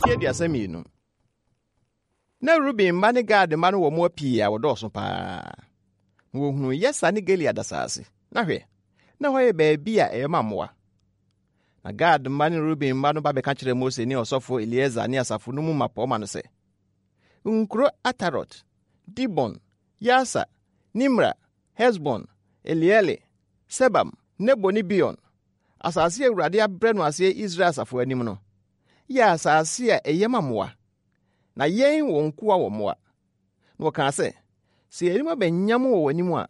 32. Na Ruben mma ne Gad mma no wɔ mmoa pii a wɔdɔɔso paa. Na wɔhunuu Yeser ne Gilead asase, na hwɛ, na hɔ yɛ baabi a ɛyɛ ma mmoa. Na Gad mma ne Ruben mma no ba bɛka kyerɛɛ Mose ne ɔsɔfo Eleasar ne asafo no mu mmapɔmma no sɛ, Nkuro Atarot, Dibon, Yaser, Nimra, Hesbon, Eleale, Sebam, Nebo ne Beon, asase a Awurade abrɛ no aseɛ Israel asafo anim no, yɛ asase a ɛyɛ ma mmoa, na yɛn wɔn nkoa wɔ mmoa. Na wɔkaa sɛ, Sɛ yɛn anim aba nyam wɔ w'anim a,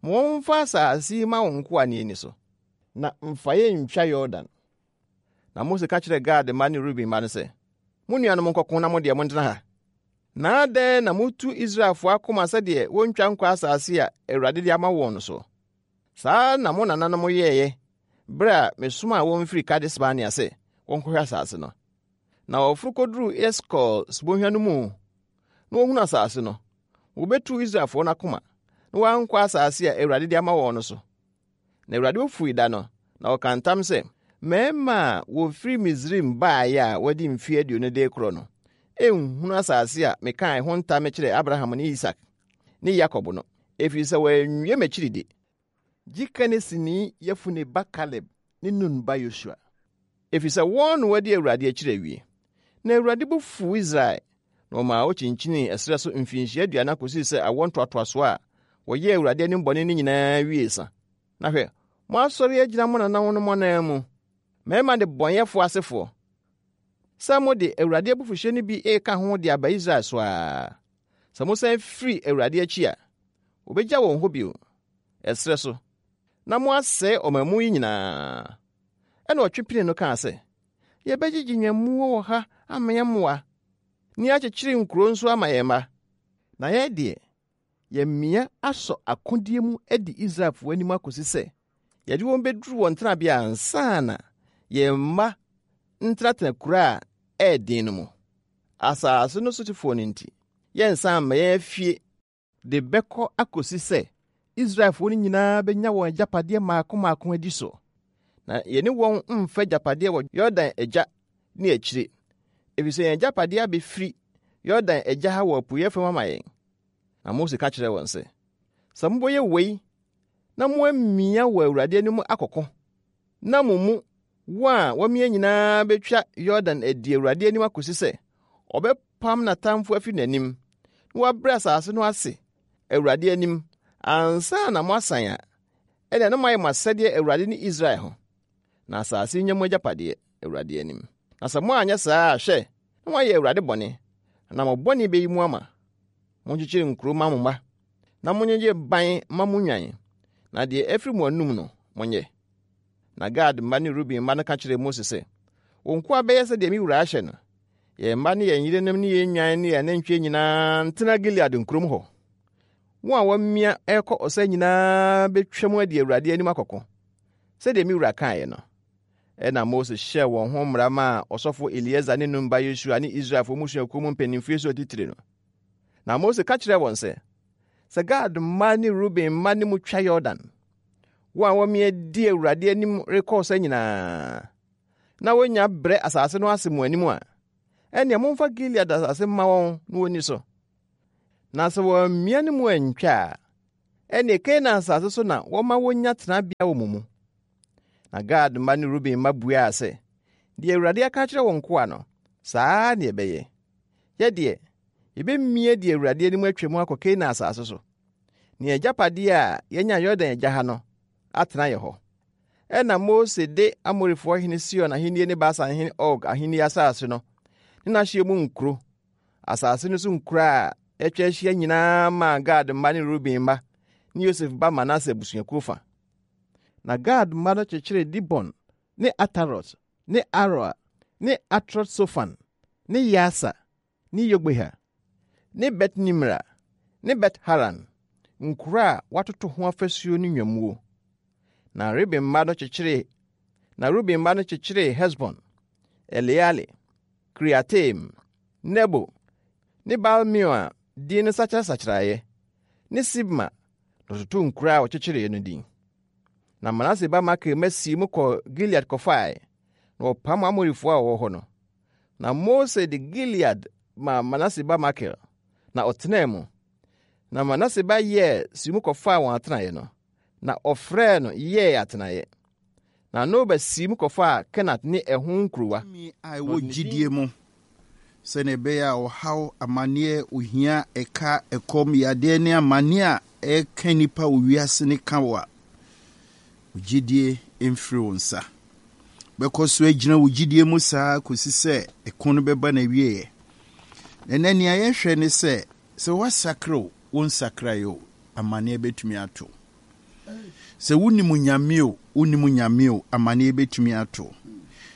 ma wɔmfa asase yi ma wo nkoa ne ani so, na mfa yɛn ntwa Yordan. Na Mose ka kyerɛɛ Gad mma ne Ruben mma no sɛ, Mo nuanom nkɔko na mo deɛ montena ha. Na adɛn na motu Israelfoɔ akoma sɛdeɛ wɔntwa nkɔ asase a Awurade de ama wɔn no soɔ? Saa na mo nananom yɛeɛ berɛ a mesomaa wɔn firi Kades Barnea sɛ wɔnkɔhwɛ asase no. Na wɔforo kɔduruu Eskol subonhwa no mu na wɔhunu asase no, wɔbɛtuu Israelfoɔ no akoma na wɔankɔ asase a Awurade de ama wɔn no so. Na Awurade bo fui da no, na ɔkaa ntam sɛ, Mmarima a wɔfiri Misraim baeɛ a wɔadi mfeɛ 20 de rekorɔ no nhunu asase a mekaa ɛho ntam kyerɛɛ Abraham ne Isak ne Yakob no, ɛfiri sɛ wɔanwie m'akyiri di. Gye Kenesini Yefune ba Kaleb ne Nun ba Yosua, ɛfiri sɛ wɔn na wɔadi Awurade akyiri awie. Na Awurade bo fuu Israel, na ɔmaa wokyinkyinii ɛserɛ so mfirinhyia 40 kosii sɛ awoɔ ntoatoasoɔ a wɔyɛɛ Awurade anim bɔne no nyinaa wiee sa. Na hwɛ, moasɔre agyina mo nananom ananmu, mmarima nnebɔneyɛfoɔ asefoɔ, sɛ mode Awurade abufuhyeɛ no bi reka ho de aba Israel so ara. Sɛ mosan firi Awurade akyi a, wɔbɛgya wɔn hɔ bio, ɛserɛ so, na moasɛe ɔman mu yi nyinaa. Ɛnna ɔtwe pinii no kaa sɛ, Yɛbɛgyegye nnwammuo wɔ ha amee mmoa, ne akyekyere nkuro nso ama yɛn mma. Na yɛn deɛ, yɛamia asɔ akodeɛ mu adi Israelfoɔ anim akɔsi sɛ yɛde wɔn bɛduru wɔn tenabea ansa na yɛn mma ntenatena kuro a ɛyɛ den no mu. Asase no sotefoɔ no nti, yɛrensan mma yɛn afie de bɛkɔ akɔsi sɛ Israelfoɔ no nyinaa bɛnya wɔn agyapadeɛ mmaako mmaako adi so. Na yɛne wɔn mfa agyapadeɛ wɔ Yordan agya ne akyire, ɛfiri sɛ yɛn agyapadeɛ abɛfiri Yordan agya ha wɔ apueeɛ fam ama yɛn. Na Mose ka kyerɛɛ wɔn sɛ, Sɛ mobɛyɛ wei na moamia wɔ Awurade anim akɔko, na mo mu wɔn a wɔamia nyinaa bɛtwa Yordan adi Awurade anim akɔsi sɛ ɔbɛpam n'atamfo afi n'anim na wabrɛ asase no ase Awurade anim ansa na moasan a, ɛnna na moayɛ mo asɛdeɛ Awurade ne Israel ho, na asase nyɛ mo agyapadeɛ Awurade anim. Na sɛ moanyɛ saa a, hwɛ, na moayɛ Awurade bɔne, na mo bɔne bɛyi mo ama. Monkyekyere nkuro mma mo mma, na monyegye ban mma mo nnwan, na deɛ afiri mo anom no, monyɛ. Na Gad mma ne Ruben mma no ka kyerɛɛ Mose sɛ, Wo nkoa bɛyɛ sɛdeɛ me wura ahyɛ no. Yɛn mma ne yɛn yerenom ne yɛn nnwan ne yɛn anantwie nyinaa ntena Gilead nkurom hɔ. Wɔn a wɔamia rekɔ ɔsa nyinaa bɛtwam adi Awurade anim akɔko, sɛdeɛ me wura kaeɛ no. Ɛnna Mose hyɛɛ wɔn ho mmara maa ɔsɔfo Eleasar ne Nun ba Yosua ne Israelfoɔ mmusuakuo mu mpanimfie so atitire no. Na Mose ka kyerɛɛ wɔn sɛ, Sɛ Gad mma ne Ruben mma ne mo twa Yordan, wɔn a wɔamia di Awurade anim rekɔ ɔsa nyinaa, na wɔnya brɛ asase no ase mo anim a, ɛnneɛ momfa Gilead asase mma wɔn na wɔnni so. Na sɛ wɔammia ne mu antwa a, ɛnneɛ Kanaan asase so na wɔma wɔnya tenabea wɔ mo mu. Na Gad mma ne Ruben mma buaa sɛ, Deɛ Awurade aka akyerɛ wo nkoa no, saa ara na yɛbɛyɛ. Yɛ deɛ, yɛbɛmia di Awurade anim atwam akɔ Kanaan asase so, ne yɛn agyapadeɛ a yɛanya Yordan agya ha no atena yɛ hɔ. Ɛnna Mose de Amorifoɔ hene Sihon ahennie ne Basan hene Og ahennie asase no ne n'ahyeɛ mu nkuro, asase no so nkuro a atwa ahyia nyinaa maa Gad mma ne Ruben mma ne Yosef ba Manase abusuakuo fa. Na Gad mma no kyekyeree Dibon ne Atarot ne Aroer ne Atrot-sofan ne Yaser ne Yogbeha ne Bet-Nimra ne Bet-Haran, nkuro a wɔatoto ho afasuo ne nnwammuo. Na Ruben mma no kyekyeree na Ruben mma no kyekyeree Hesbon, Eleale, Kiriataim, Nebo, ne Baal-meon a din no sakyerasakyeraeɛ, ne Sibma na ɔtotoo nkuro a wɔkyekyereeɛ no din. Na Manase ba Makir mma sii mu kɔɔ Gilead kɔfae, na wɔpam Amorifoɔ a wɔwɔ hɔ no. Na Mose de Gilead maa Manase ba Makir, na ɔtenaa mu. Na Manase ba Yair sii mu kɔfaa wɔn atenaeɛ no, na ɔfrɛɛ no Yair atenaeɛ. Na Noba sii mu kɔfaa Kenat ne ɛho nkurowa. Tumi a ɛwɔ gyidie mu sɛdeɛ ɛbɛyɛ a ɔhaw, amaneɛ, ohia, ɛka, ɛkɔm, yadeɛ ne amaneɛ a ɛreka nnipa wɔ wiase no ka wo a, wo gyidie mfiri wo nsa. Bɛkɔ so agyina wo gyidie mu saa kɔsi sɛ ɛko no bɛba n'awieɛ. Na ɛnɛ nea yɛhwɛ ne sɛ, sɛ woasakra o, wonsakraeɛ o, amaneɛ bɛtumi ato. Sɛ wonim Nyame o, wonnim Nyame o, amaneɛ bɛtumi ato.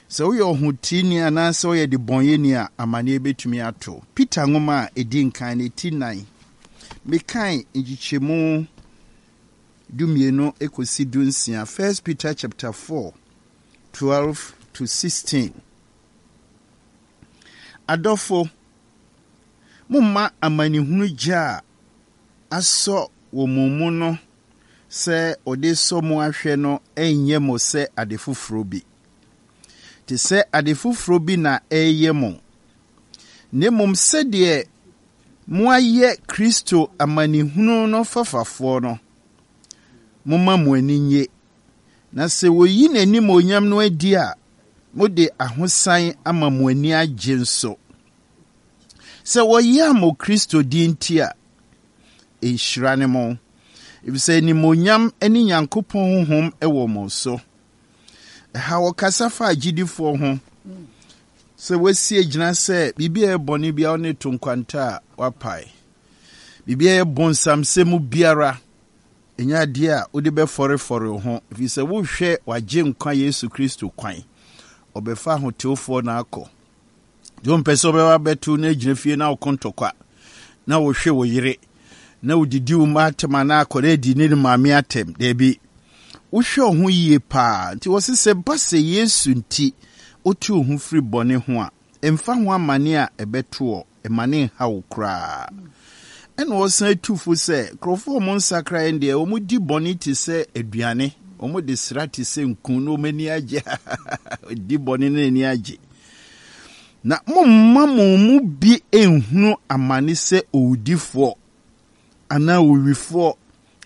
Sɛ woyɛ ɔhoteeni anaasɛ woyɛ debɔnyɛni a, amaneɛ bɛtumi ato. Peter nwoma a ɛdi nkan no, ti nan, mekan nkyekyɛmu dumienu kɔsi dunsia, First Peter chapter 4, 12 to 16. Adɔfo, momma amanehunu gya a asɔ wɔ mo mu no sɛ ɔde resɔ mo ahwɛ no nyɛ mo sɛ ade foforɔ bi, te sɛ ade foforɔ bi na ɛreyɛ mo, na mmom sɛdeɛ moayɛ Kristo amanehunu no fafafoɔ no, momma mo ani nnye. Na sɛ wɔyi n'animuonyam no adi a, mode ahosan ama mo ani agye nso. Sɛ wɔyam mo Kristo din nti a, nhyira ne mo, efisɛ animuonyam ne Nyankopɔn honhom wɔ mo so. Ɛha wɔkasa fa agyidifoɔ ho sɛ wɔasi agyina sɛ biribi a ɛyɛ bɔne biara ne to nkwanta a wapae. Biribi a ɛyɛ bonsamsɛm biara ɛnyɛ adeɛ a wode bɛfɔrefɔre wo ho, ɛfiri sɛ wohwɛ wagye nkwa Yesu Kristo kwan. Ɔbɛfa ahotewfoɔ na akɔ. Deɛ ɔmpɛ sɛ ɔbɛba bɛto na agyina fie na ɔko ntɔkwa na wohwe wo yere na wodidi wo mma atɛm anaa akɔda adi ne ne maame atɛm. Daabi. Wohwɛ wo ho yie paa. Nti wɔse sɛ ba sɛ Yesu nti wote wo ho firi bɔne ho a, ɛmfa ho amane a ɛbɛto wɔ, ɛma ne nha wo koraa. Ɛna ɔsan tu fo sɛ nkurɔfoɔ a wɔn nsakraeɛ deɛ wɔn di bɔne te sɛ aduane, wɔn de sra te sɛ nku na wɔn ani agye di bɔne na ani agye. Na momma mo mu bi nhunu amane sɛ owudifoɔ anaa owifoɔ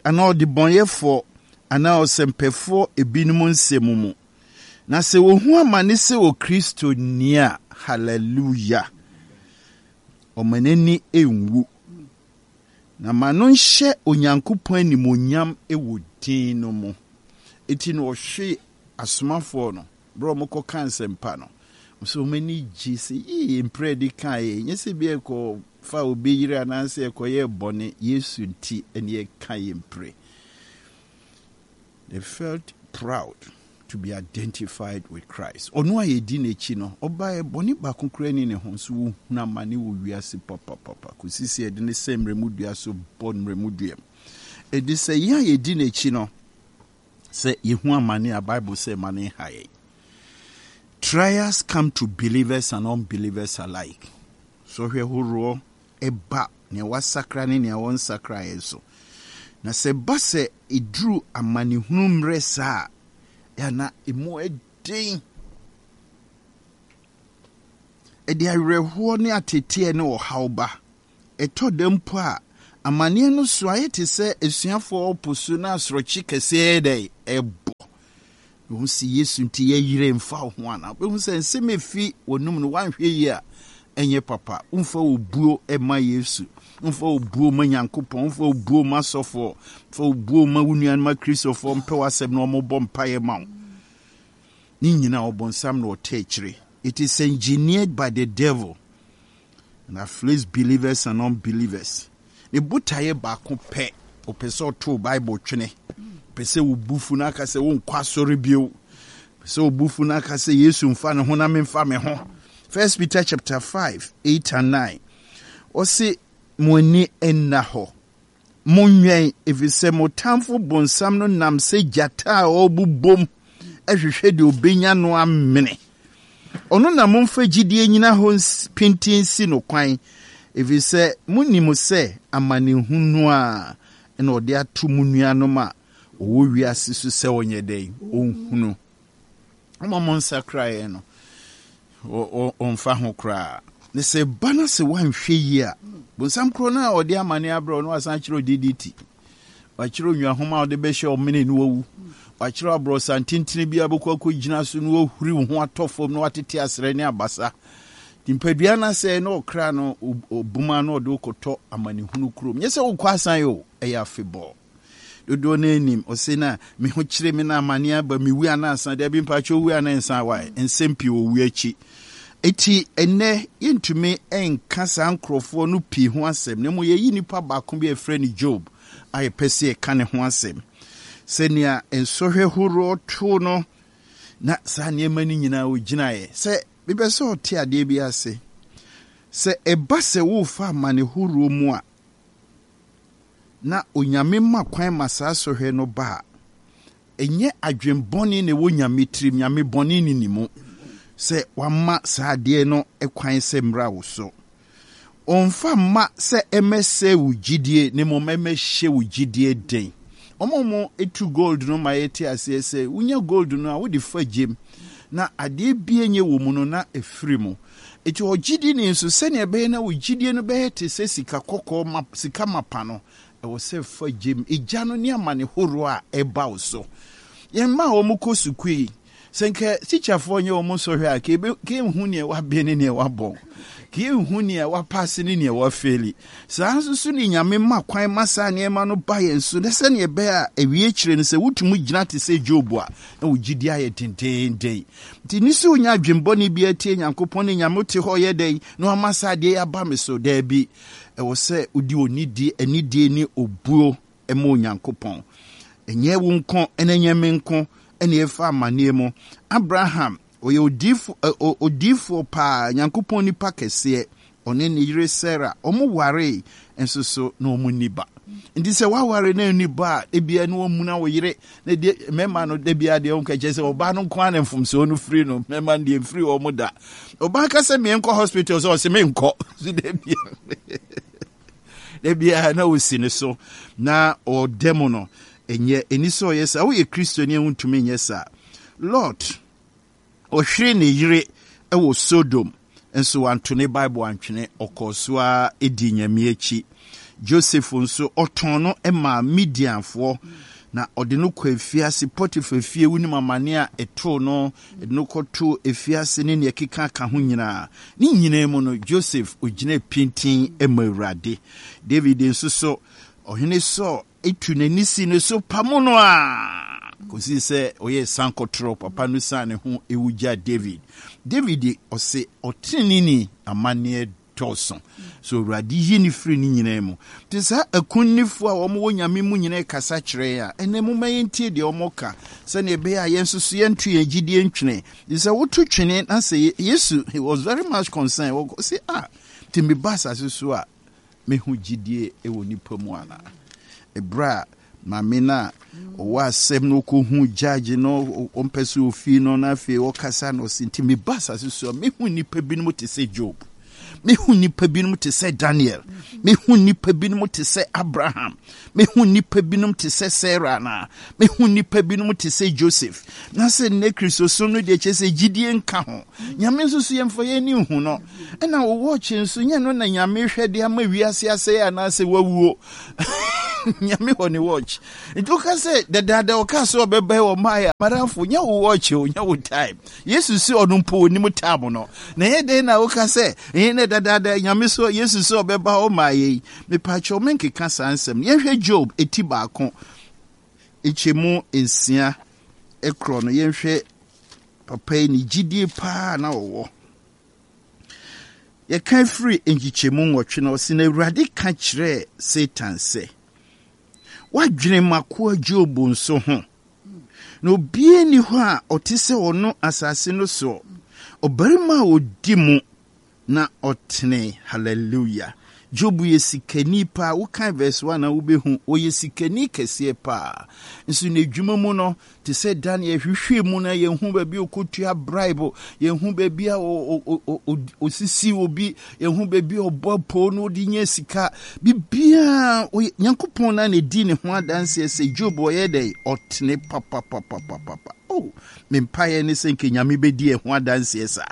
anaa ɔdebɔnyɛfoɔ anaa ɔsɛmpɛfoɔ ebinom nsɛm mu. Na sɛ wɔhu amane sɛ Okristoni a, hallelujah, ɔma n'ani nwu, na ma no nhyɛ Onyankopɔn animuonyam wɔ din no mu. Enti na ɔhwe asomafoɔ no Berɛ a wɔkɔka nsɛmpa no, wɔsɛ wɔn ani gye sɛ yii mprɛ adi kan yɛ nyɛ sɛ bi ɛkɔfa obi yere anaasɛ ɛkɔyɛ bɔne Yesu nti ɛne ɛka yɛ mpire. They felt proud to be identified with Christ. Ɔno a yɛdi n'akyi no, ɔbaeɛ bɔne baako koraa ni ne ho nso wɔhunu amane wɔ wiase papapapa kɔsi sɛ yɛde ne sɛ mmerɛmu dua so bɔ mmerɛmu dua mu. Ɛde sɛ yɛn a yɛdi n'akyi no, Sɛ yehu amane a, Bible sɛ mma no nha yɛn. Trials come to believers and unbelievers alike. Sɔhwɛ horoɔ ba nea wasakra ne nea ɔnsakraeɛ so. Na sɛ ɛba sɛ ɛduru amanehunu mmerɛ saa a, ɛyɛ na emu ɛden. Ɛde awerɛhoɔ ne ateteɛ ne ɔhaw ba. Ɛtɔ da mpo a, amanneɛ no so ayɛ te sɛ asuafoɔ wɔ po so na asorɔkye kɛseɛ yɛ dɛn? Ɛbɔ. Wɔn si Yesu nti yɛyere mfa wo ho anaa? Wobɛhu sɛ nsɛm efi wɔnum no woanhwɛ yie a ɛnyɛ papa. Womfa obuo mma Yesu. Womfa obuo mma Nyankopɔn. Womfa obuo mma asɔfoɔ. Womfa obuo mma wo nuanom akristofoɔ mpɛ w'asɛm na wɔbɔ mpaeɛ ma wo. Ne nyinaa ɔbonsam na ɔtɛ akyire. It is engineered by the devil. And afflicts believers and unbelievers. Ne botaeɛ baako pɛ, ɔpɛ sɛ ɔtow Bible twene. Ɔpɛ sɛ wo bu fu na aka sɛ wonkɔ asɔre bio. Ɔpɛ sɛ obu fu na aka sɛ Yesu mfa ne ho na memfa me ho. First Peter chapter 5, 8 and 9. Ɔse mo ani nna hɔ. Monwɛn, efisɛ mo tamfo bonsam no nam sɛ gyata a ɔrebobom hwehwɛ deɛ ɔbɛnya no amene. Ɔno na momfa gyidie nnyina hɔ pintinn nsi no kwan, efisɛ monim sɛ amanehunu a na ɔde ato mo nuanom a wɔwɔ wiase so sɛ wɔnyɛ dɛn? Wɔnhunu. Wɔn a wɔnsakraeɛ no. Ɔmfa ho koraa. Na sɛ ɛba na sɛ woanhwɛ yie a, bonsam korɔ no a ɔde amane abrɛ wo no wasan akyerɛ wo DDT. Wakyerɛ nnwahoma a ɔde bɛhyɛ ɔmene na wawu. Wakyerɛ aborɔsa ntentene bi a bɛkɔ akɔgyina so na wahuri wo ho atɔ fam na watete asrɛ ne abasa. Nipadua no asɛe na ɔkra no obuma na ɔde wokɔtɔ amanehunu kurom. Nyɛ sɛ wokɔ asan o, ɛyɛ afebɔɔ. Dodoɔ no anim, ɔse na me ho kyere me na amane aba, mewu anaa ansa. Dabi mpakyɛ owu anaa nsa wae. Nsɛm pii wɔ owu akyi. Eti ɛnnɛ yɛntumi nka saa nkurɔfoɔ no pii ho asɛm, na mmom yɛyi nipa baako bi a yɛfrɛ no Job a yɛpɛ sɛ yɛka ne ho asɛm. Sɛnea nsɔhwɛ horoɔ too no na saa nneɛma no nyinaa ɔgyinaeɛ. Sɛ mepɛ sɛ ɔte adeɛ bi ase, sɛ ɛba sɛ worefa amane horoɔ mu a, na Onyame ma kwan ma saa sɔhwɛ no ba a, ɛnyɛ adwen bɔne na ɛwɔ Nyame tirim, Nyame bɔne nni ne mu sɛ wama saa adeɛ no kwan sɛ mmra wo so. Ɔmfa mma sɛ ɛmɛsɛe wo gyidie na mmom ɛmɛhyɛ wo gyidie den. Wɔn a wɔtu gold no ma yɛte aseɛ sɛ wonya gold no a wode fa gyem na adeɛ bie nyɛ wɔ mu no na ɛfiri mu. Enti ɔgyidini nso, sɛnea ɛbɛyɛ na wo gyidie no bɛyɛ te sɛ sika kɔkɔɔ ma, sika mapa no, ɛwɔ sɛ fa gyem egya no ne amane horoɔ a ɛba wo so. Yɛn mma a wɔkɔ sukuu yi, sɛ nka tikyafoɔ nyɛ wɔn nsɔhwɛ a, ka ebe, ka yɛnhu nea waben ne nea wabɔn. Ka yɛnhu nea wapaase ne nea wafeeli. Saa nso so ne Nyame ma kwan ma saa nneɛma no ba yɛn so, na sɛnea ɛbɛyɛ a awie akyire no sɛ wotumi gyina te sɛ Job a, na wo gyidie ayɛ dendeenden. Nti ne sɛ onya adwembɔne biara tie Nyankopɔn ne Nyame te hɔ yɛ dɛn na wama saa adeɛ yi aba me so? Daabi. Ɛwɔ sɛ wodi onidie, anidie ne obuo ma Onyankopɔn. Ɛnyɛ wo nko na ɛnyɛ me nko na yɛfa amanneɛ mu. Abraham, ɔyɛ odiifo, odiifoɔ paa, Nyankopɔn nipa kɛseɛ. Ɔne ne yere Sara, wɔwaree nso so na wɔnni ba. Nti sɛ woaware na ɛnni ba a, ebia na wɔamuna wo yere. Na deɛ mmarima no da biara deɛ wɔka kyerɛ sɛ ɔbaa no nko ara na mfomsoɔ no firi no, mmarima no deɛ mfiri wɔn da. Ɔbaa ka sɛ menkɔ hospital sɛ ɔse menkɔ. So da biara da biara na ɔsi ne so na ɔda mu no, ɛnyɛ ɛni sɛ ɔyɛ saa. Woyɛ Kristoni a wontumi nyɛ saa. Lot Ɔhweree ne yere wɔ Sodom, nso wanto ne Bible antwene, ɔkɔɔ so ara dii Nyame akyi. Joseph nso, ɔtɔn no maa Midianfoɔ, na ɔde no kɔɔ afiase, Potiphar fie, wonim amane a ɛtoo no, ɛde no kɔtoo afiase ne nea ɛkeka ka ho nyinaa. Ne nyinaa mu no, Joseph, ɔgyinaa pintinn ma Awurade. David nso so, Ɔhene Saul tu n'ani si ne so pamo no ara kɔsii sɛ ɔyɛɛ sankɔtorɔ. Papa no siane ne ho wu gyaa David. David ɔse ɔteneneeni amanneɛ dɔɔso, so Awurade yi no firi ne nyinaa mu. Nti saa akunnifoɔ a wɔn wɔ Nyame mu nyinaa kasa kyerɛ yɛn a, ɛnɛ momma yɛntie deɛ wɔn ka sɛdeɛ ɛbɛyɛ a yɛn nso so yɛnto yɛn gyidie ntwene. Nti sɛ woto twene na sɛ Yesu, he was very much concerned, ɔse ah, nti meba asase so a, Mehu gyidie wɔ nipa mu anaa? Ɛberɛ a maame no a ɔwɔ asɛm no ɔkɔhu judge no, ɔmpɛ sɛ ɔfii no, na afei ɔkasa no, ɔse, nti meba asase so a, mehu nnipa binom te sɛ Job, mehu nnipa binom te sɛ Daniel, mehu nnipa binom te sɛ Abraham, mehu nnipa binom te sɛ Sarah anaa, mehu nnipa binom te sɛ Joseph. Na sɛ nnɛ Kristosom no deɛ kyerɛ sɛ gyidie nka ho. Nyame nso so yɛmfa yɛn ani nhu no. Ɛna wo watch nso nyɛ no na Nyame hwɛ de ama wiase asɛe anaasɛ wawuo. Nyame wɔ ne watch. Nti woka sɛ dadaada ɔka sɛ ɔbɛba wɔ mae a, madamfo, nyɛ wo watch o, nyɛ wo time. Yesu se ɔno mpo onim time no. Na ɛyɛ dɛn na woka sɛ ɛyɛ nɛ dadaada Nyame so Yesu sɛ ɔbɛba ɔmaa yɛi. Mepakyɛw menkeka saa nsɛm no. Yɛnhwɛ Job eti baako nkyɛmu nsia korɔ no, yɛnhwɛ papa yi ne gyidie paa na ɔwɔ. Yɛka firi nkyekyɛmu nwɔtwe no, ɔse, Na Awurade ka kyerɛɛ Satan sɛ, Woadwene m'akoa Job nso ho? Na obiara nni hɔ a ɔte sɛ ɔno asase no soɔ, ɔbarima a ɔdi mu na ɔtene. Hallelujah. Job yɛ sikani paa. Wokan verse 1 a wobɛhu, ɔyɛ sikani kɛseɛ paa. Nso n'adwuma mu no, te sɛ Daniel hwehwɛ mu na yɛhu baabi a ɔkɔtua bribe, yɛhu baabi a ɔsisi obi, yɛhu baabi a ɔbɔ apoo na ɔde nya sika. Biribiara, Nyankopɔn na na ɛdi ne ho adanseɛ sɛ Job ɔyɛ dɛn? Ɔtene papapapapapa. Oh, me mpaeɛ ne sɛ nka Nyame bɛdi ɛho adanseɛ saa.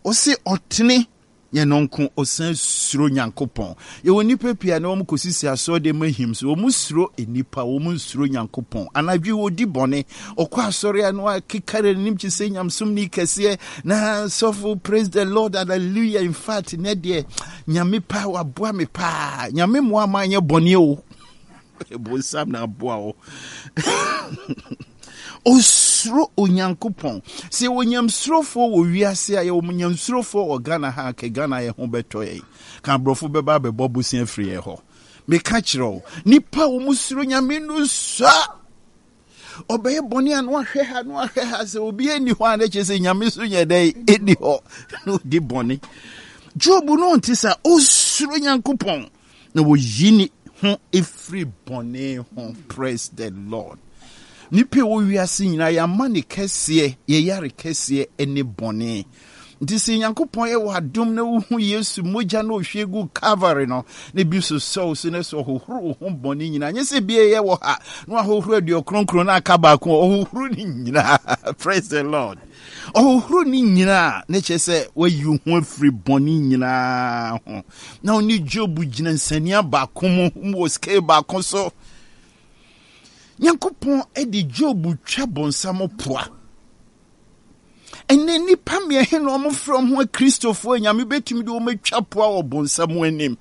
Ɔse ɔtene Yɛn no nko, ɔsan suro Nyankopɔn. Yɛwɔ nnipa pii a na wɔn kɔsisi asɔre mu ahim so. Wɔn suro nnipa, wɔn nsuro Nyankopɔn. Anadwo yi wɔdi bɔne. Ɔkɔ asɔre a na wakekare n'anim kye sɛ nyamesomni kɛseɛ. Na sɔfo, praise the Lord, hallelujah. In fact, nɛ deɛ, Nyame paa, waboa me paa. Nyame mmoa ma anyɛ bɔne o. Bonsam na aboa wo. Osuro Onyankopɔn. Sɛ yɛwɔ nyamsurofoɔ wɔ wiase a, yɛwɔ nyamsurofoɔ wɔ Ghana ha a, kɛ Ghana yɛ ho bɛtɔ yɛn. Ka aborɔfo bɛba abɛbɔ bosea firi yɛn hɔ. Meka kyerɛ wo, nipa a wɔn suro Nyame no sua. Ɔbɛyɛ bɔne a na wahwɛ ha na wahwɛ ha sɛ obi nni hɔ a na kyerɛ sɛ Nyame so nyɛ dɛn ɛnni hɔ na ɔdi bɔne. Job no ɔnte saa, osuro Nyankopɔn. Na wɔyi ne ho firi bɔne ho. Praise the Lord. Nipa ɛwɔ wiase nyinaa yɛama ne kɛseɛ, yɛyare kɛseɛ ne bɔne. Nti sɛ Nyankopɔn yɛ wɔ adom na wohu Yesu mogya na ɔhwie gu Calvary no, na bi sosɔ wo so na sɛ ɔhohoro wo ho bɔne nyinaa. Nyɛ sɛ bi ɛyɛ wɔ ha na wahohoro aduɔkronkron na aka baako, ɔhohoro ne nyinaa. Praise the Lord. Ɔhohoro ne nyinaa na kyerɛ sɛ wayi wo ho afiri bɔne nyinaa ho. Na ɔne Job gyina nsania baako mu wɔ scale baako so. Nyankopɔn de Job twa bonsam poa. Ɛnɛ nnipa mmiɛnhe na wɔfrɛ wɔn ho Akristofoɔ Nyame bɛtumi de wɔn atwa poa wɔ bonsam anim.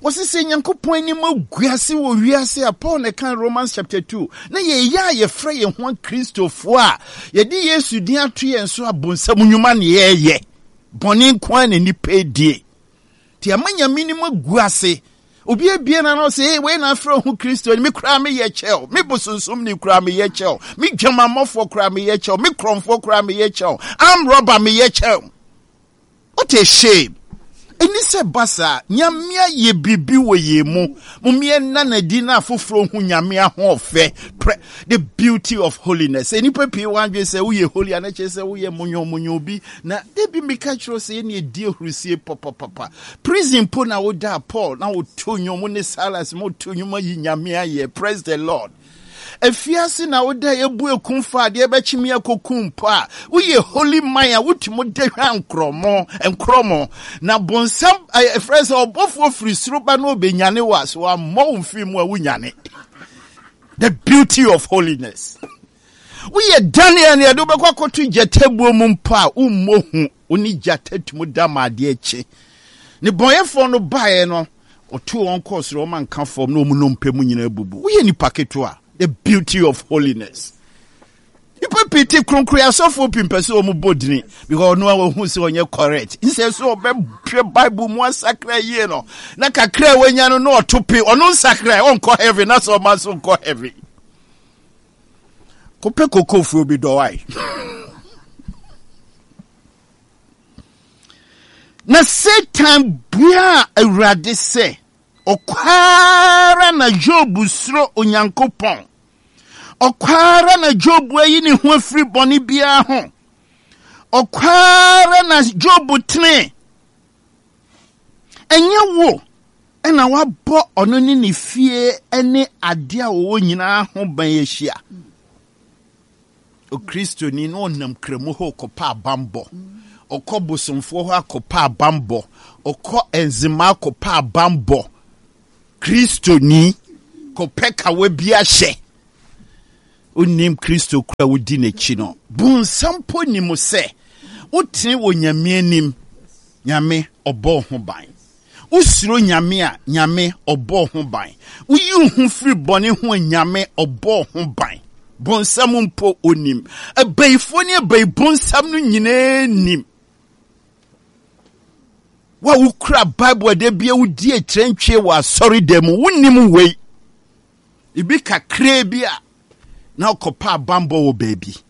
Wɔsi sɛ Nyankopɔn anim agu ase wɔ wiase a Paul na ɛka Romans chapter 2 na yɛyɛ a yɛfrɛ yɛn ho Akristofoɔ a yɛde Yesu din ato yɛn so a bonsam nnwuma na yɛyɛ. Bɔne nko ara na nnipa edie. Nti ama Nyame anim agu ase. Obi abie na na ɔsɛ, hey, wei na afrɛ ho Kristo, me koraa meyɛ kyɛw, me bosonsom ni koraa meyɛ kyɛw, me dwamammɔfoɔ koraa meyɛ kyɛw, me korɔmfoɔ koraa meyɛ kyɛw, arm robber meyɛ kyɛw. What a shame! Ɛni sɛ ba saa. Nyame ayɛ biribi wɔ yɛn mu. Mom yɛnna no adi na afoforɔ hu Nyame ahoɔfɛ. The beauty of holiness. Sɛ nnipa pii wɔ adwene sɛ woyɛ holy a na kyerɛ sɛ woyɛ monyomonyo bi. Na da bi meka kyerɛ sɛ yɛne ɛdi ahurusie papapapa. Prison po na woda Paul na woto nnwom ne Silas mo to nnwom ayi Nyame ayɛ. Praise the Lord. Afiase na woda ebu ekum fa adeɛ bɛkye me akɔku mpo a, woyɛ holy man a wotumi da hwa nkorɔmo, nkorɔmo. Na bonsam, ɛfrɛ sɛ ɔbɔfoɔ firi soro ba na ɔbɛnyane wo a, so wammɔ wo mfiri mu a wonyane. The beauty of holiness. Woyɛ Daniel ne ɛde wobɛkɔ akɔto gyatabuo mu mpo a, wommɔ hu. Wo ne gyata tumi da ma adeɛ kye. Ne bɔnyɛfoɔ no baeɛ no, ɔtoo wɔn kɔɔ soro, wɔn anka fam, na wɔn nnompe mu nyinaa abubu. Woyɛ nipa ketewa. The beauty of holiness. Nipa pii te kronkron asɔfoɔ pii mpɛ sɛ wɔn bɔ dini because ɔno a wɔhu sɛ ɔnyɛ correct. Nsɛ sɛ ɔbɛhwɛ Bible mu asakra yie no na kakra a wanya no na ɔto pe ɔno nsakra ɔnkɔ heaven na sɛ ɔma nso nkɔ heaven. Kɔpɛ kokofuo bi dɔ wae. Na Satan buaa Awurade sɛ, Ɔkwa ara na Job suro Onyankopɔn. Ɔkwa ara na Job ayi ne ho afiri bɔne biara ho. Ɔkwa ara na Job tene. Ɛnyɛ wo na wabɔ ɔno ne ne fie ne adeɛ a wɔwɔ nyinaa ho ban ahyia. Okristoni na ɔnam kramu hɔ kɔpɛ abanbɔ. Ɔkɔ bosomfoɔ hɔ akɔpɛ abanbɔ. Ɔkɔ nzema akɔpɛ abanbɔ. Kristoni kɔpɛ kawa bi ahyɛ. Onim Kristo kura wodi n'akyi no. Bonsam mpo nim sɛ wotene wɔ Nyame anim. Nyame ɔbɔ ho ban. Wosuro Nyame a, Nyame ɔbɔ ho ban. Woyi wo ho firi bɔne ho a, Nyame ɔbɔ ho ban. Bonsam mpo onim. Abayifoɔ ne abayi bonsam no nyinaa nim. Wo a wokura Bible a da bia wodi akyerɛntwie wɔ asɔredan mu, wonnim wei. Ebi kakraa bi a na ɔkɔpa abanbɔ wɔ baabi.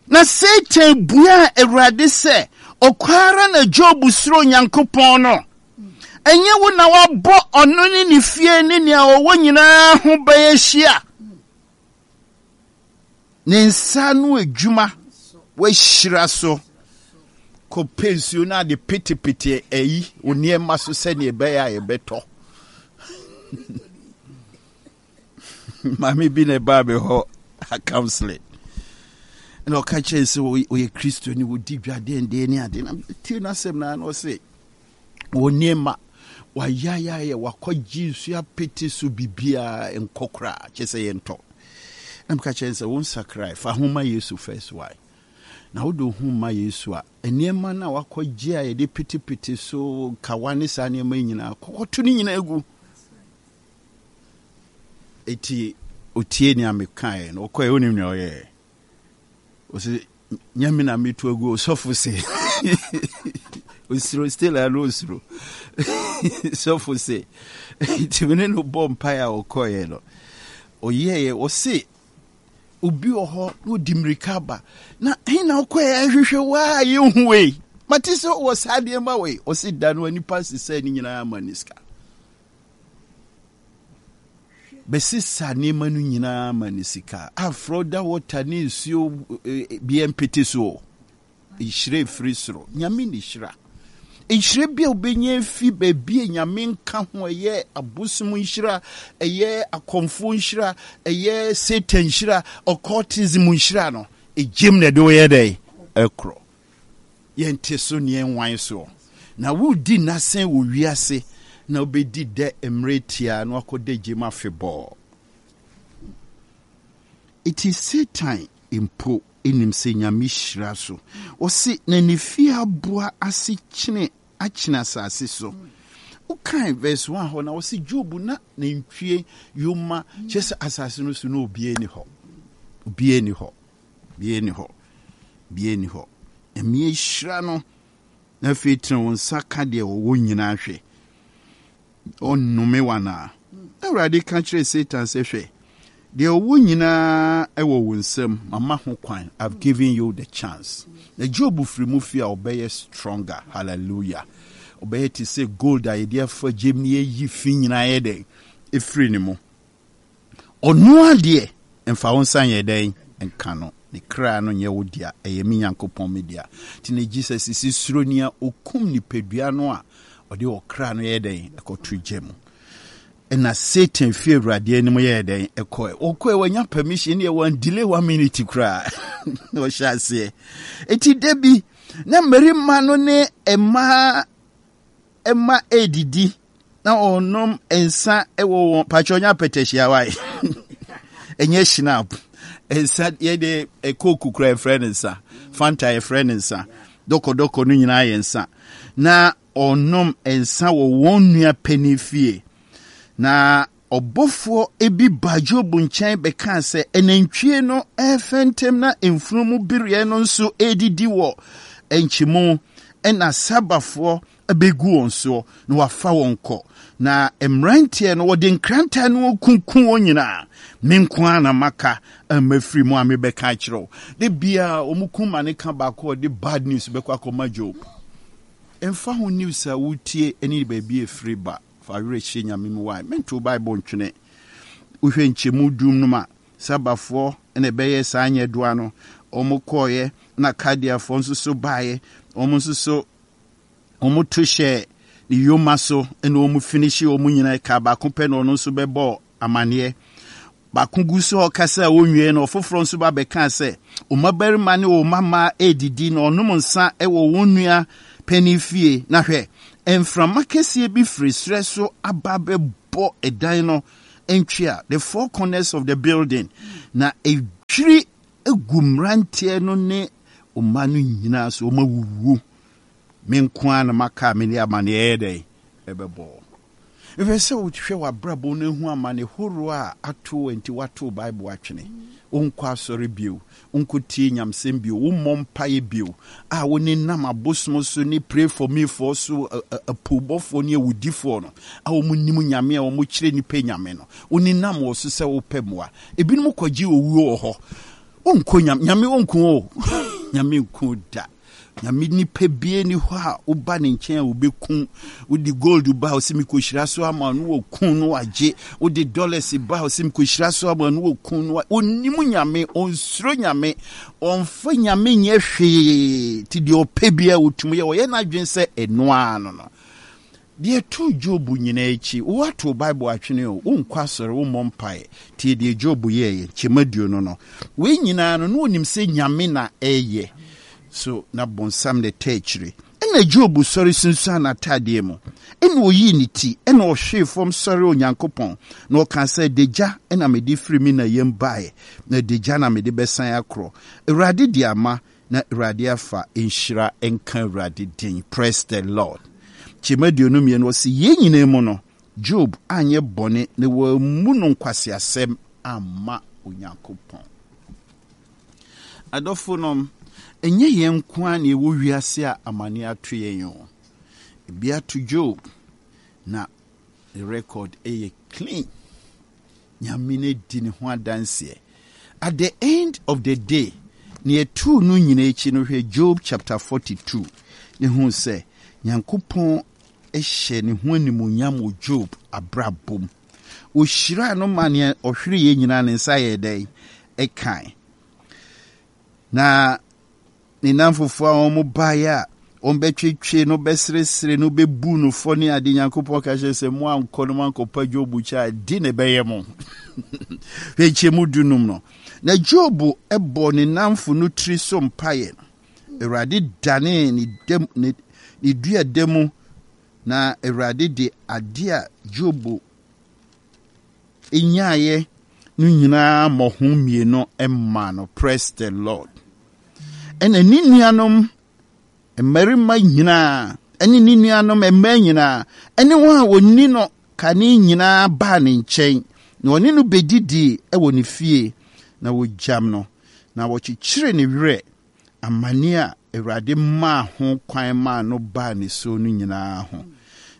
Na Satan buaa Awurade sɛ, Ɔkwa ara na Job suro Onyankopɔn no. Ɛnyɛ wo na woabɔ ɔno ne ne fie ne nea ɔwɔ nyinaa ho ban ahyia? Ne nsa ano adwuma wahyira so. Kɔpɛ nsuo no ade petepete ayi wo nneɛma so sɛnea ɛbɛyɛ a yɛbɛtɔ. Maame bi na ɛbaa me hɔ counseling na ɔka kyerɛ sɛ ɔyɛ kristo ni wɔdi dwa denden ne ade na tie n'asɛm na na ɔse wɔ nneɛma wayayayɛ wakɔgye nsuo apete so biribiara nkɔ koraa kyɛ sɛ yɛntɔ na meka kyerɛ sɛ wo nsakrae fa ho ma yesu first why na wode wo ho ma yesu a nneɛma no a wakɔgye a yɛde petepete so kawa ne saa nneɛma nyinaa kɔkɔto ne nyinaa gu Eti otie nea mekaeɛ no, ɔkɔɛ wonim nea ɔyɛɛ? Ɔsɛ nyɛ me na metu agu ɔsɔfo se osuro still a no osuro sɔfo se nti me ne no bɔ mpaeɛ a ɔkɔeɛ no ɔyɛeɛ ɔse obi wɔ hɔ na ɔdi mmirika aba na he na ɔkɔeɛ ahwehwɛ wo a yɛnhu wei mate sɛ wɔ saa nneɛma wei ɔse da no nipa sesɛ ne nyinaa ma ne sika Bɛsesa nneɛma no nyinaa ma no sika. Afrɛ da water ne nsuo eh, bi mpete so o. Nhyira efiri soro. Nyame ne hyira. Nhyira bi a wobɛnya afi baabi a Nyame nka ho, ɛyɛ abosom nhyira, ɛyɛ akɔmfoɔ nhyira, ɛyɛ Satan nhyira, occultism nhyira no, egyem na ɛde woyɛ dɛn? Ɛkorɔ. Yɛnte so ne yɛnwan soɔ. Na woredi nna sɛn wɔ wiase na wobɛdi dɛ mmerɛ tiaa na wakɔda gyem afebɔɔ? Enti Satan mpo nim sɛ Nyame hyira so. Ɔse na ne fie aboa ase kyene akyene asase so. Wokan verse 1 hɔ na ɔse Job na nantwie, yoma, kyerɛ sɛ asase no so na obiara ni hɔ. Obiara ni hɔ. Biara nni hɔ. Biara nni hɔ. Nyame ahyira no. Na afei tene wo nsa ka deɛ ɔwɔ nyinaa hwɛ. Ɔnnome wo anaa? Na Awurade ka kyerɛɛ Satan sɛ, Hwɛ, deɛ ɔwɔ nyinaa wɔ wo nsam. Mama ho kwan. I've given you the chance. Na Job firi mu fie a ɔbɛyɛ stronger. Hallelujah. Ɔbɛyɛ te sɛ gold a yɛde afa gyem na yɛyi fi nyinaa yɛ dɛn? Ɛfiri ne mu. Ɔno ara deɛ, mfa wo nsa nyɛ dɛn nka no, ne kra no nyɛ wo dea, ɛyɛ me Nyankopɔn me dea. Nti na Jesus se, suro nea okum nipadua no a ɔde ɔkra no yɛ dɛn ɛkɔto gya mu. Ɛna Satan fi Awurade anim yɛɛ dɛn ɛkɔɛ. Ɔkɔɛ wanya permission deɛ wɔn delay one minute koraa na ɔhyɛ aseɛ. Eti da bi na mmarima no ne mmaa mma redidi na ɔrenom nsa wɔ wɔn pakyɛ ɔnyɛ apɛtɛhyia wae ɛnyɛ shinap nsa yɛde kooku kura yɛfrɛ no nsa fanta yɛfrɛ no nsa dɔkɔdɔkɔ no nyinaa yɛ nsa na ɔnom nsa wɔ wɔn nua panin fie na Ɔbɔfoɔ bi baa Job nkyɛn bɛkaa sɛ, Anantwie no refɛntɛm na mfunumu bereɛ no nso redidi wɔ nkyemu, ɛnna Sabafoɔ bɛgu wɔn soɔ na wɔafa wɔn kɔ. Na mmeranteɛ no, wɔde nkrantɛ no rekunkum wɔn nyinaa. Me nko ara na maka a mafiri mu a mebɛka akyerɛ wo. Da biara wɔkum ma ne ka baako a ɔde bad news bɛkɔ akɔma Job. Ɛmfa ho news a wotie ne baabi a ɛfiri ba. Fa werɛ hyɛ Nyame mu wai. Mentow Bible ntwene. Wohwɛ nkyɛmu dum no ma Sabafoɔ na ɛbɛyɛ saa nyɛdoa no. Wɔn kɔɔeɛ na Kaldeafoɔ nso so baeɛ. Wɔn nso so wɔn to hyɛɛ ne yoma so na wɔn finihye wɔn nyinaa. Ɛkaa baako pɛ na ɔno nso bɛbɔɔ amaneɛ. Baako gu so a ɔkasa a ɔnwiei no, ɔfoforɔ nso ba bɛkaa sɛ, Wo mmabarima ne wo mmammaa redidi na wɔnom nsã wɔ wɔn nua panin fie, na hwɛ, mframa kɛseɛ bi firi serɛ so aba abɛbɔ ɛdan no ntwea, the four corners of the building, na ɛdwiri gu mmeranteɛ no ne wo mma no nyinaa so, wɔawuwu. Me nko ara na maka a mede amaneɛ yɛ dɛn ɛbɛbɔ wo. Mepɛ sɛ wohwɛ w'abrabɔ no hu amane horow a ato wo nti woatow Bible atwene. Wonkɔ asɔre bio, wonkɔtie nyamesɛm bio, wommɔ mpaeɛ bio, a wonenam abosom so ne pray for me foɔ so, apoobɔfoɔ ne awudifoɔ no a wɔnnim Nyame a wɔkyerɛ nnipa Nyame no, wonenam wɔ so sɛ wopɛ mmoa. Ebinom kɔgye owuo wɔ hɔ. Wonkɔ Nyame, Nyame ɔnku wo o. Nyame nku wo da. Nyame nipa bie ni hɔ a woba ne nkyɛn a wobɛku. Wode gold ba a ɔsɛ mekɔhyira so ama no wɔku no wagye. Wode dollars ba a ɔsɛ mekɔhyira so ama no wɔku no. Ɔnim Nyame, ɔnsuro Nyame, ɔmfa Nyame nyɛ hwee. Nti deɛ ɔpɛ biara ɔtumi yɛ. Ɔyɛ n'adwene sɛ ɛno ara no no. Deɛ ɛtoo Job nyinaa akyi, woato Bible atwene o, wonkɔ asɔre, wommɔ mpaeɛ. Tie deɛ Job yɛeɛ, nkyɛmu aduonu no. Wei nyinaa no, na ɔnim sɛ Nyame na ɛreyɛ. So na bonsam na ɛtaa akyire? Ɛnna Job sɔre sunsuan n'ataadeɛ mu, ɛnna ɔyii ne ti, ɛnna ɔhwee fam sɔree Onyankopɔn, na ɔkaa sɛ, Adagya na mede firi me na yam baeɛ, na adagya na mede bɛsan akorɔ. Awurade de ama, Na Awurade afa, nhyira nka Awurade din. Praise the Lord. Nkyɛmu 22, ɔse, Yei nyinaa mu no, Job anyɛ bɔne na wammu no nkwaseasɛm amma Onyankopɔn. Adɔfonom, ɛnyɛ yɛn nko ara na yɛwɔ wiase a amane ato yɛn o. Ebi ato Job, na ne record yɛ clean. Nyame no adi ne ho adanseɛ. At the end of the day, nea ɛtoo no nyina akyi no, hwɛ Job chapter 42 ne hu sɛ Nyankopɔn hyɛ ne ho animuonyam wɔ Job abrabɔ mu. Ɔhyiraa no ma nea ɔhwereeɛ nyinaa ne nsa yɛɛ dɛn? Ɛkae. Na ne nnamfofoɔ a wɔn baeɛ a wɔbɛtwetwe no bɛseresere no bɛbu no fɔ ne ade Nyankopɔn ka kyerɛ sɛ mo ankɔ no moankɔpa Job kyɛ a di na ɛbɛyɛ mo. Hwɛ nkyɛmu dunum no. Na Job bɔ ne nnamfo no tiri so mpaeɛ no, Awurade danee ne dam ne ne dua da mu na Awurade de ade a Job nyaeɛ no nyinaa mmɔho mmienu maa no. Praise the Lord. Ɛna ne nuanom mmarima nyinaa ɛne ne nuanom mmaa nyinaa ɛne wɔn a wɔnni no kane nyinaa baa ne nkyɛn na wɔne no bɛdidii wɔ ne fie na wɔgyam no na wɔkyekyere ne werɛ amane a Awurade maa ho kwan maa no baa ne so no nyinaa ho.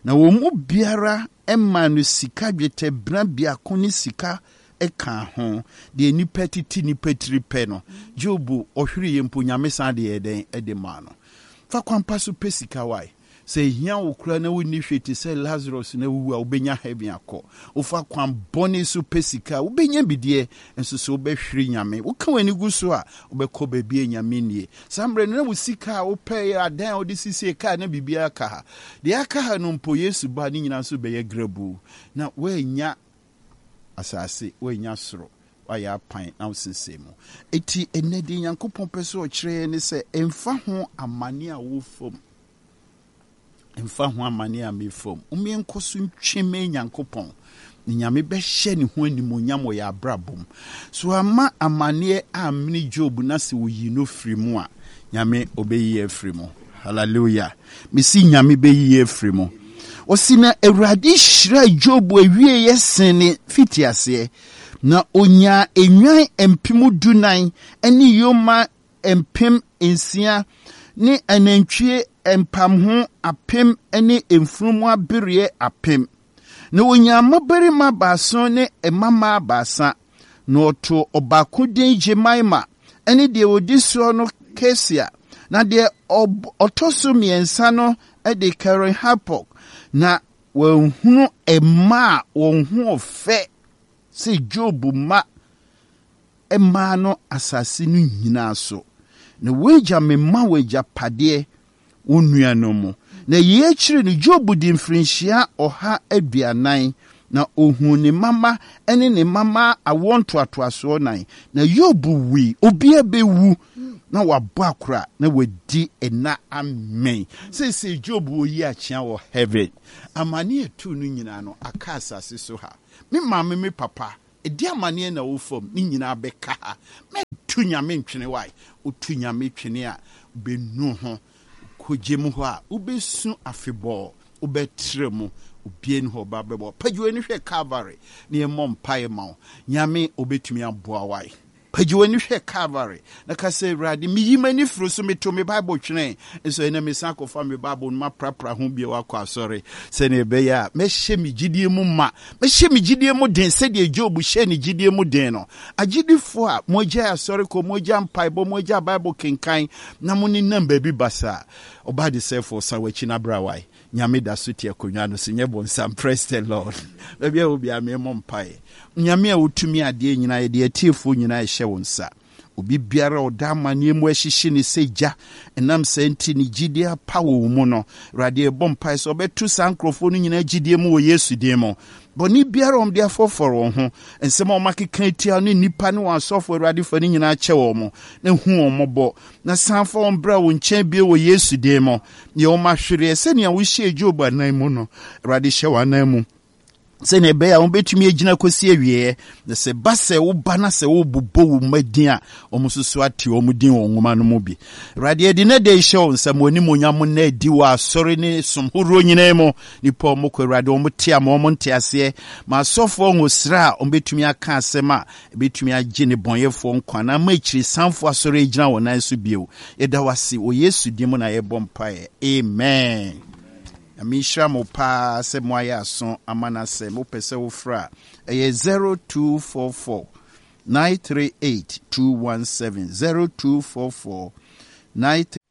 Na wɔn mu biara maa no sika dwetɛbena biako ne sika kaa ho, deɛ nnipa tete nnipa tiri pɛ no. Job ɔhwereeɛ mpo, Nyame san de yɛɛ dɛn de maa no. Fa kwan pa so pɛ sika wae. Sɛ ehia wo koraa na wonni hwee te sɛ Lazarus na wuwu a, wobɛnya heaven akɔ. Wofa kwan bɔne so pɛ sika a, wobɛnya bi deɛ, nso sɛ wobɛhwere Nyame. Woka w'ani gu so a, wobɛkɔ baabi a Nyame nnie. Saa mmerɛ no, na wo sika a wopɛeɛ, adan a wode sisie, kaa na biribiara ka ha. Deɛ aka ha no mpo, Yesu ba a, ne nyinaa nso bɛyɛ grabuu. Na woannya asase, woannya soro, woayɛ apan na wosensɛn mu. Enti ɛnnɛ deɛ Nyankopɔn pɛ sɛ ɔkyerɛ yɛn ne sɛ, ɛmfa ho amane a wofa mu, ɛmfa ho amane a mefa mu, mom yɛnkɔ so ntwe mmɛn Nyankopɔn, na Nyame bɛhyɛ ne ho animuonyam wɔ yɛn abrabɔ mu. So amma amaneɛ ammene Job na sɛ ɔyii no firi mu a, Nyame ɔbɛyi yɛn afiri mu. Hallelujah. Mesi Nyame bɛyi yɛn afiri mu. Ɔsi na Awurade hyiraa Job awieeɛ sen ne fitiaseɛ, na ɔnyaa nnwan 14,000 ne yoma 6000 ne anantwie mpamho 1000 ne mfunumu abereɛ 1000. Na ɔnyaa mmabarima baason ne mmammaa baasa, na ɔtoo ɔbaako din Jemima, ne deɛ ɔdi soɔ no Kesia, na deɛ ɔtɔ so mmiɛnsa no de Keren-Hapuk. Na wɔanhunu mma a wɔn ho fɛ sɛ Job mma mmaa no asase no nyinaa so. Na w'agya mema wo agyapadeɛ wo nuanom mu. Na yei akyiri no, Job dii mfirinhyia 140, na ɔhuu ne mma mma ne ne mma mma awoɔ ntoatoasoɔ nan. Na Yob wui, obiara bɛwu na wabɔ akora na wadi nna amee. Seesei Job ɔyi akyea wɔ heaven. Amane a ɛtoo no nyinaa no, aka asase so ha. Me maame, me papa, Ɛdeɛn amaneɛ na wo fam ne nyinaa bɛka ha mɛto Nyame ntwene wai Woto Nyame twene a wobɛnu ho Wokɔ gyem hɔ a wobɛsu afebɔɔ Wobɛtra mu obiara nni hɔ ɔba bɛbɔ Pagya w'ani hwɛ Calvary na yɛmmɔ mpaeɛ ma wo Nyame ɔbɛtumi aboa wai. Pagya w'ani hwɛ Calvary na ka sɛ, Awurade, meyi m'ani firi so, meto me Bible twene, nso ɛnɛ mesan akɔfa me Bible no maprapra ho bio akɔ asɔre, sɛnea ɛbɛyɛ a mɛhyɛ me gyidie mu ma, mɛhyɛ me gyidie mu den sɛdeɛ Job hyɛɛ ne gyidie mu den no. Agyidifoɔ a moagyae asɔre kɔ, moagya mpaebɔ, moagya Bible kenkan, na monenam baabi basaa, ɔbaa desɛefoɔ, san w'akyi na bra wae. Nyame da so te akonnwa no so, nyɛ bonsam. Praise the Lord. Baabi a wɔ biara memmɔ mpaeɛ. Nyame a wotumi adeɛ nyinaa, yɛde atiefoɔ nyinaa ɛhyɛ wo nsa. Obi biara a ɔda amanneɛ mu ɛhyehye ne sɛ gya, ɛnam saa nti ne gyidie apa wɔ wo mu no, Awurade yɛbɔ mpaeɛ sɛ ɔbɛto saa nkurɔfoɔ no nyinaa gyidie mu wɔ Yesu din mu. Bɔne biara a wɔde afɔfɔre wɔn ho, nsɛm a wɔakeka atia ne nnipa ne wɔn asɔfo, Awurade fa ne nyinaa kyɛ wɔn na hu wɔn mmɔbɔ na san fa wɔn bra wo nkyɛn bio wɔ Yesu din mu. Nea wɔn ahwereɛ sɛnea wohyɛɛ Job anan mu no, Awurade hyɛ wɔn anan mu sɛnea ɛbɛyɛ a wɔbɛtumi agyina kɔsi awieɛ. Na sɛ ba sɛ woba na sɛ wobobɔ wo mma din a, wɔn nso so ate wɔn din wɔ nwoma no mu bi. Awurade, yɛde nnɛ da yi hyɛ wo nsa ma w'animuonyam nna adi wɔ asɔre ne som horoɔ nyinaa mu. Nnipa a wɔkɔ Awurade, wɔn te ama wɔn nte aseɛ. Ma asɔfoɔ ngosra a wɔbɛtumi aka asɛm a ɛbɛtumi agye nnebɔneyɛfoɔ nkwa na ama akyirisanfoɔ asɔre agyina wɔn nan so bio. Yɛda wo ase wɔ Yesu din mu na yɛbɔ mpaeɛ. Amen. Nyame nhyira mo paa sɛ moayɛ aso ama n'asɛm. Wopɛ sɛ wofrɛ a, ɛyɛ 0244 938 217, 0244 938.